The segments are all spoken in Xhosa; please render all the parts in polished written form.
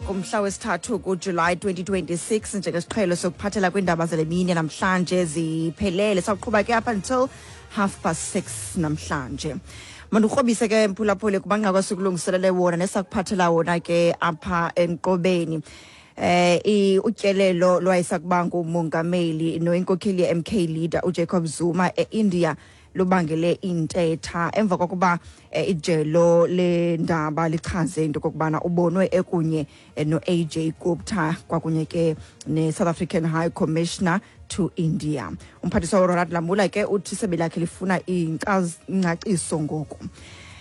Kumhla wesithathu kuJulayi 2026, njengesiqhelo sokuphathela kwiindaba zale mini namhlanje ziphelele. Sawuqhuba ke up until 6:30 namhlanje. Mandikrobise ke, mphulaphuli, kumanqaku esikulungiselele wona nesakuphathela wona ke apha enkqubeni. Utyelelo lwayesakuba ngumongameli noyinkokheli ye-MK leader uJacob Zuma e-India lubangele intetha emva kokuba ijelo lendaba lichaze into kokubana ubonwe ekunye no-AJ Gupta kwakunye ke ne-South African High Commissioner to India. Umphathiswa uRonald Lamola ke uthi isebe lakhe lifuna ingcaciso ngoku.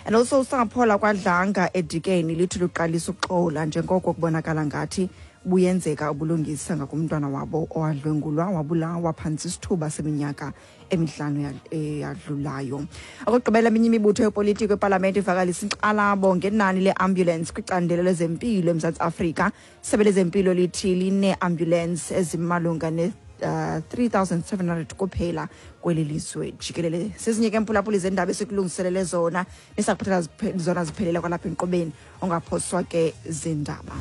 And also, usapho lakwaDlanga eDikeni lithi luqalisa ukuxola njengoko kubonakala ngathi buyenzeka ubulungisa ngakumntwana wabo owadlwengulwa wabulawa phantsi isithuba seminyaka emihlanu eyadlulayo. Okokugqibela, eminye imibutho yopolitiko epalamente ivakalisa inkxalabo ngenani le-ambulance kwicandelo lezempilo eMzantsi Afrika. Isebe lezempilo lithi line-ambulance ezimalunga ne 3700 kuphela kweli lizwe jikelele. Sezinye ke, mphulaphuli, zendaba esikulungiselele zona nesakuphathela zona ziphelele kwalapha enkqubeni. Ungaphoswa ke zindaba.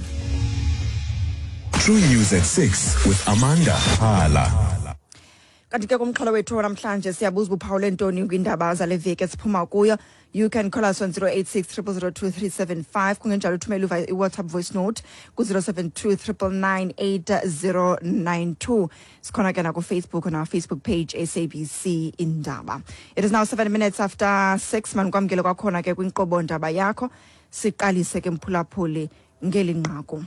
True News at 6 with Amanda Hala. Kanti ke kumxholo wethu namhlanje siyabuza, uphawule ntoni kwiindaba zale veki esiphuma kuyo? You can call us on 086 0002375. Kungenjalo uthumele i-WhatsApp voice note ku-072 999 8092. Sikhona ke nakuFacebook, on our Facebook page, SABC Indaba. It is now 6:07. Manikwamkele kwakhona ke kwinkqubo ndaba yakho. Siqalise ke, mphulaphuli, ngeli nqaku.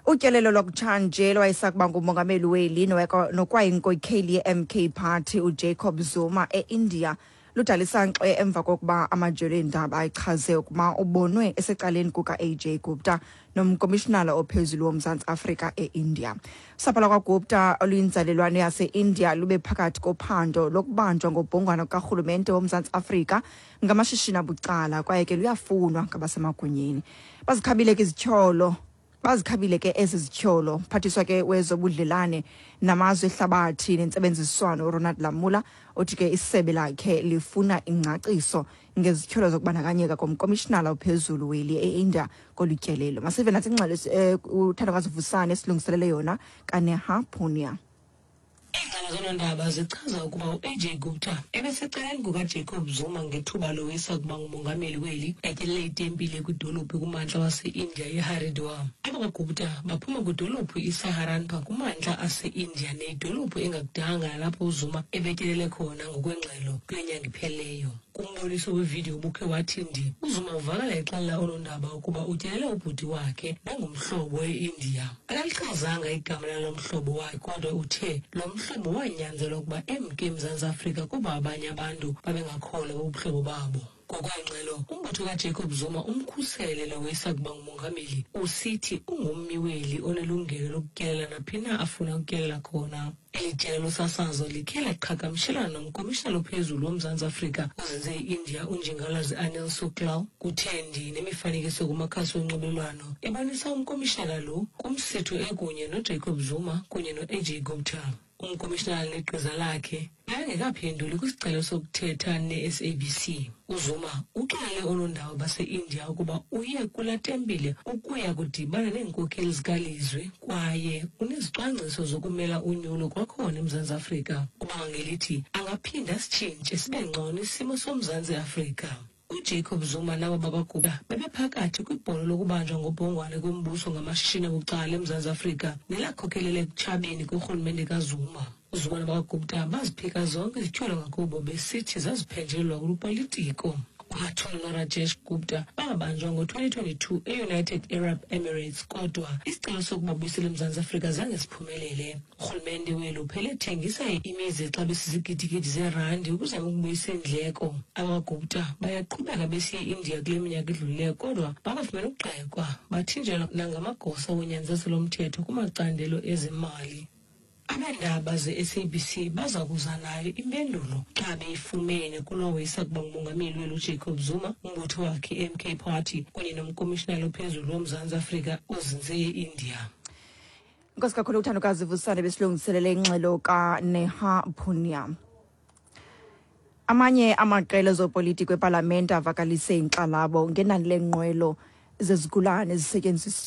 Utyelelo lwakutshanje lwayesakuba ngumongameli weli nokwayinkokheli ye-MK Party uJacob Zuma e-India ludalisa nkxe emva kokuba amajelo eendaba achaze ukuba ubonwe esecaleni kuka-AJ Gupta nomkomishinala ophezulu woMzantsi Afrika e-India. Usapho lakwaGupta oluyinzalelwane yase-India lube phakathi kophando lokubanjwa ngobhongwana kukarhulumente woMzantsi Afrika ngamashishini abucala, kwaye ke luyafunwa ngabasemagunyeni. Bazikhabile ke izityholo, bazikhabile ke ezi zityholo. Phathiswa ke wezobudlelane namazwe ehlabathi nentsebenziswano uRonald Lamola uthi ke isebe lakhe lifuna ingcaciso ngezityholo zokubandakanyeka komkomishinala ophezulu weli e-India kolu tyelelo. Masive natsi ingxelo uThandokazi Vusane esilungiselele yona kaNeha Punia. Iingxelo zoonondaba zichaza ukuba u-AJ Gupta ebesecaleni kukaJacob Zuma ngethuba lowisa kuba ngumongameli weli etyelele itempile kwidolophu kumantla wase-India iHaridwar. AbakwaGupta baphuma kwidolophu iSaharanpur kumantla ase-India, neyidolophu engakudanga nalapho uZuma ebetyelele khona ngokwengxelo kule nyanga iphelileyo. Kumboniso wevidiyo ubukhe wathi ndi, uZuma uvakala exelela oonondaba ukuba utyelele ubhuti wakhe nangumhlobo e-India. Akalichazanga igama lalo mhlobo wakhe, kodwa uthe lo mhlobo wanyanzelwa ukuba emke eMzantsi Afrika kuba abanye abantu babengakholwa bubuhlobo babo. Ngokwengxelo, umbutho kaJacob Zuma umkhusele lo wayesakuba ngumongameli, usithi ungummi weli onelungelo lokutyelela naphi na afuna ukutyelela khona. Eli jelo losasazo likhe laqhagamshelana nomkomishinala ophezulu woMzantsi Afrika ozinze e-India uNjingalwazi Anil Sooklal. Kuthe nemifanekiso kumakhasi onxibelelwano ebonisa umkomishinala lo kumsitho ekunye noJacob Zuma kunye no-AJ Gupta. Umkomishinala negqiza lakhe bebengekaphenduli kwisicelo sokuthetha ne-SABC. UZuma uxelele oonondaba base-India ukuba uye kulaa tempile ukuya kudibana neenkokheli zikalizwe kwaye unezicwangciso zokumela unyulo kwakhona eMzantsi Afrika. Ubanga ngelithi angaphinda asitshintshe sibe ngcono isimo soMzantsi Afrika. UJacob Zuma nabo bakwaGupta bebephakathi kwibholo lokubanjwa ngobhongwane kombuso ngamashishini abucala eMzantsi Afrika nelakhokelela ekutshabeni korhulumente kaZuma. UZuma nabakwaGupta baziphika zonke izityholo ngakubo, besithi zaziphenjelelwa lupolitiko. UAtul noRajesh Gupta babanjwa ngo-2022 e-United Arab Emirates, kodwa isicelo sokubabuyisela eMzantsi Afrika zange siphumelele. Urhulumente weli uphele ethengisa imizi exabisa izigidigidi zeerandi ukuzama ukubuyisa iindleko. AbakwaGupta bayaqhubeka besiya e-India kule minyaka idlulileyo, kodwa bakafumene ukugxekwa, bathinjelwa nangamagosa wonyanzeliso lomthetho kumacandelo ezemali. Abeendaba ze-SABC baza kuza nayo impendulo xa beyifumene kulowo isakuba ngumongameli weli uJacob Zuma, umbutho wakhe i-MK Party kunye nomkomishinala ophezulu woMzantsi Afrika ozinze e-India. Nkosi kakhulu, uThandokazi Vusane besilungiselele ingxelo kaNeha Punia. Amanye amaqela ezopolitiko epalamente avakalise inkxalabo ngenani leenqwelo zezigulane ezisetyenziswa